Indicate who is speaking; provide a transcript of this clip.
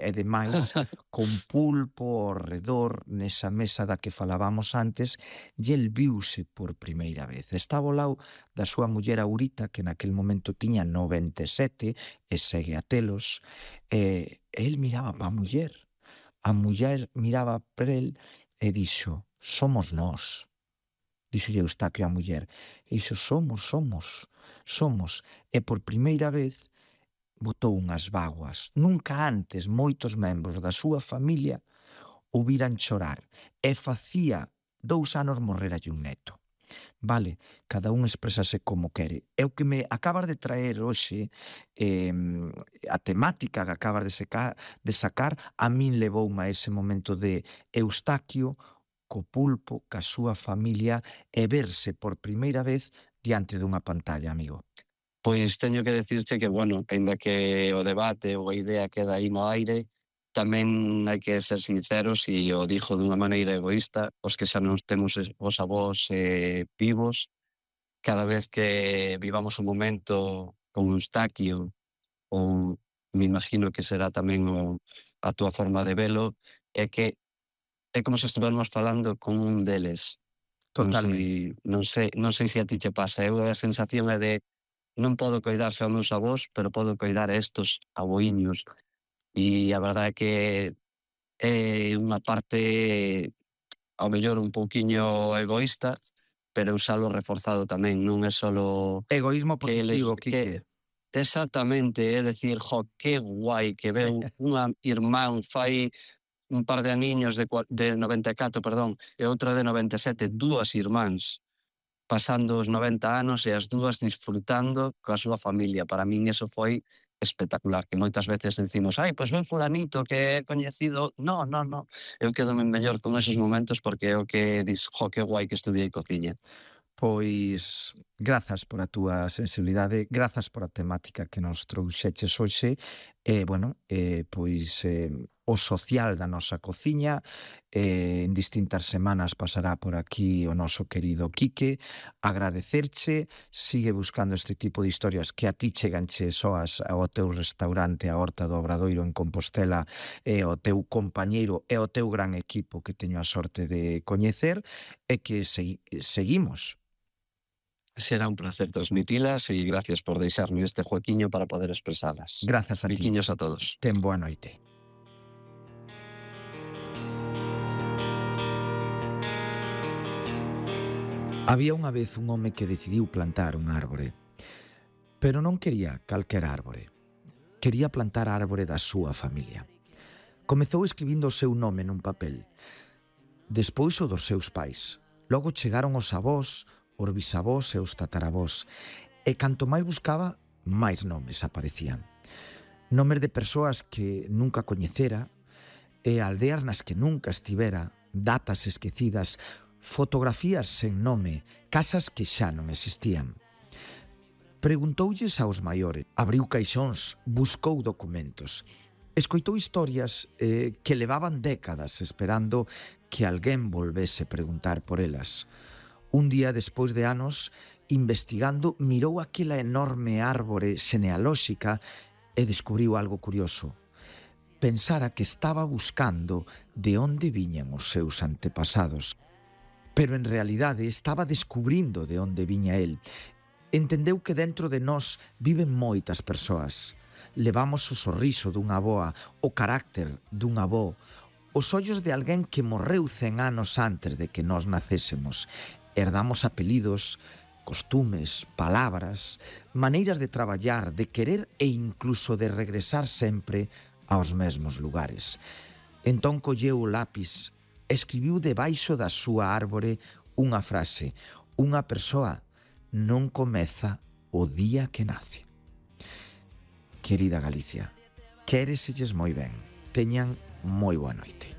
Speaker 1: E demais, con pulpo ao redor nesa mesa da que falábamos antes, e el viuse por primeira vez. Estaba ao lado da súa muller Aurita, que naquel momento tiña 97 e segue a telos, e el miraba pa a muller miraba para el e dixo: "Somos nós". Díxolle Eustaquio á muller, e dixo: somos. E por primeira vez botou unhas bágoas. Nunca antes moitos membros da súa familia o viran chorar e facía 2 anos morreralle un neto. Vale, cada un expresase como quere. E o que me acabas de traer hoxe, a temática que acabas de sacar, a min levoume a ese momento de Eustaquio co pulpo, ca súa familia e verse por primeira vez diante dunha pantalla, amigo.
Speaker 2: Pois teño que decirche que, bueno, aínda que o debate ou a idea queda aí no aire, tamén hai que ser sinceros e o dixo dunha maneira egoísta, os que xa non temos os avós vivos, cada vez que vivamos un momento con Eustaquio, ou me imagino que será tamén a túa forma de velo, é que é como se estivermos falando con un deles.
Speaker 1: Totalmente.
Speaker 2: Non sei se a ti che pasa, eu a sensación é de non podo coidar xa os meus avós, pero podo coidar a estos aboíños. E a verdade é que é unha parte, ao mellor, un pouquiño egoísta, pero usalo reforzado tamén, non é solo
Speaker 1: Egoísmo
Speaker 2: que
Speaker 1: positivo, Quique.
Speaker 2: exactamente, é dicir, que guai que veu unha irmán fai un par de aniños de 94, perdón, e outra de 97, dúas irmáns, pasando os 90 anos e as dúas disfrutando coa súa familia. Para min eso foi espectacular, que moitas veces decimos, pois ven fulanito que é coñecido. No. Eu quedome mellor con esos momentos porque é o que dis, que guai que estudiei cociña.
Speaker 1: Pois grazas por a túa sensibilidade, grazas por a temática que nos trouxeches hoxe e, pois o social da nosa cociña. En distintas semanas pasará por aquí o noso querido Quique. Agradecerche, sigue buscando este tipo de historias que a ti cheganche soas ao teu restaurante, a Horta do Obradoiro en Compostela, e ao teu compañeiro e ao teu gran equipo que teño a sorte de coñecer, e que seguimos.
Speaker 2: Será un placer transmitilas e gracias por deixarme este juequiño para poder expresalas.
Speaker 1: Grazas a ti.
Speaker 2: Biquiños a todos.
Speaker 1: Ten boa noite. Había unha vez un home que decidiu plantar unha árbore, pero non quería calquera árbore. Quería plantar a árbore da súa familia. Comezou escribindo o seu nome nun papel, despois o dos seus pais. Logo chegaron os avós, os bisavós e os tataravós, e canto máis buscaba, máis nomes aparecían. Nomes de persoas que nunca coñecera, e aldeas nas que nunca estivera, datas esquecidas, fotografías sen nome, casas que xa non existían. Preguntoulles aos maiores, abriu caixóns, buscou documentos, escoitou historias que levaban décadas esperando que alguén volvese preguntar por elas. Un día, despois de anos, investigando, mirou aquela enorme árbore xenealóxica e descubriu algo curioso. Pensara que estaba buscando de onde viñan os seus antepasados, pero en realidade estaba descubrindo de onde viña el. Entendeu que dentro de nós viven moitas persoas. Levamos o sorriso dunha avoa, o carácter dun avó, os ollos de alguén que morreu 100 anos antes de que nós nacésemos. Herdamos apelidos, costumes, palabras, maneiras de traballar, de querer e incluso de regresar sempre aos mesmos lugares. Entón colleu o lápis, escribiu debaixo da súa árbore unha frase: unha persoa non comeza o día que nace. Querida Galicia, quéreselles moi ben. Teñan moi boa noite.